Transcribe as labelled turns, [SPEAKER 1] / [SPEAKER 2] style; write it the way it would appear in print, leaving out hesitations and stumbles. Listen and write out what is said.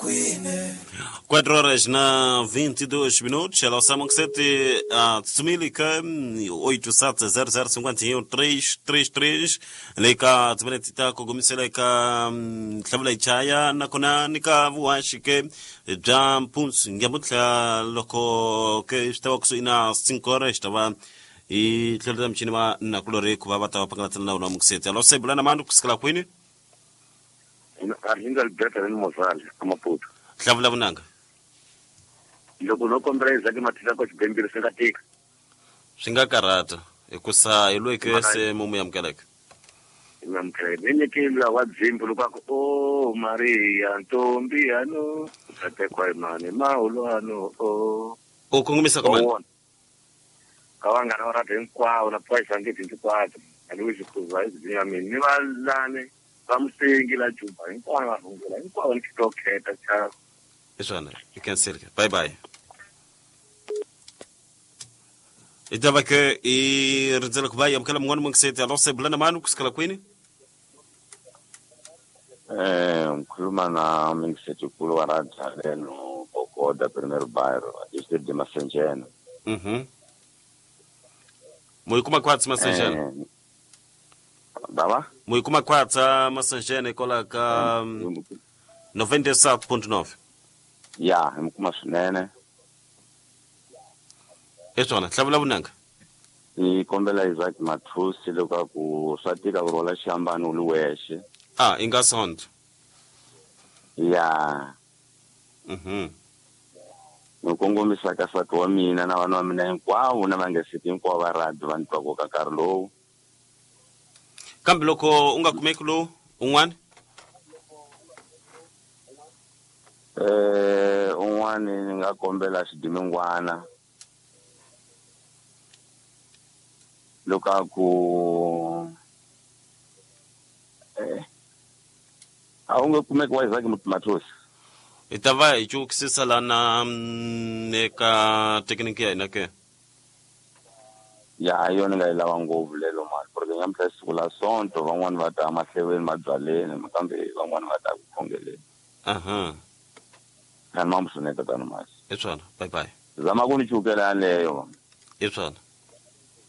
[SPEAKER 1] 4 horas na 22 minutos. Ela Samuxete a Tsumilika 870051 333 leka tsiveletita kugumiseleka hlawula chaya nakona nika vuhaxi-ke bya mpundzu nyamuntlha loko ke swi ta va kusuhi na 5 horas ta va hi tlheleta michini va nakulorhi ku va va ta va pangalatsana na wona mukiseti. Alo, sebula na mani kusukela kwini?
[SPEAKER 2] Arlindo Alberto ni Mozali aMaputo.
[SPEAKER 1] Hlavula vunanga.
[SPEAKER 2] Loko no kombela Isaac Mathisa ko xibembile swi nga tika?
[SPEAKER 1] Swi nga karhata hikusa hi loyi ke se mumu amukeleke.
[SPEAKER 2] Amukeleke ni nyikile wa dzimbu loko a ku o Maria ntombi yano tatekwa hi mani mahulwano o.
[SPEAKER 1] U kongomisa ka mani?
[SPEAKER 2] Ka vanghana va radio hinkwavo na poison ngeti hinkwato Alois Khuza ya mina ni valani va musengi la Juba hinkwavo va rhungula hinkwavo ni to kheta cha.
[SPEAKER 1] Hi swona i cancel. Bye bye. I ta va ke i rindzela ku va yi amukela mun'wana mungiseti. Alo, sebula na mani kusukela kwini?
[SPEAKER 3] Ngikhuluma na Mingisetikulu wa Radzaleno Bogoda, Primeiro Bairro, distrito de Massangena.
[SPEAKER 1] Mo yi kuma khwatsi Masanjena?
[SPEAKER 3] Baba?
[SPEAKER 1] Mo yi kuma khwatsa Masanjena hikwalaho ka 97.9?
[SPEAKER 3] Ya, hi kuma swinene.
[SPEAKER 1] Hi swona, hlavula vunanga.
[SPEAKER 3] Ni kombela Isaac Mathusi loko swa tika ku rhwala xihambano u li wexe.
[SPEAKER 1] Ah, i nga sonto.
[SPEAKER 3] Ya. Ni kongomisa ka nsati wa mina na vana va mina hinkwavo na vangeseti hinkwavo va radio va ni twaka ka nkarhi lowu.
[SPEAKER 1] Kambe loko u nga kumeki lowu un'wana?
[SPEAKER 3] Un'wana ni nga kombela xidimingwana loko a ku a wu nge kumeki wa Isaac Mathosi.
[SPEAKER 1] Hi ta va hi cukisisa lana eka thekiniki ya hina ke.
[SPEAKER 3] Ya, hi yona nga yi lava ngopfu lelo mali porque nyamuntlha siku la Sonto van'wani va ta mahleveni mabyaleni kambe van'wani va ta ku khongeleni. Khani ma musune tatana masi.
[SPEAKER 1] Hi swona, bye bye.
[SPEAKER 3] Zama ku ni chukela yaleyo.
[SPEAKER 1] Hi swona.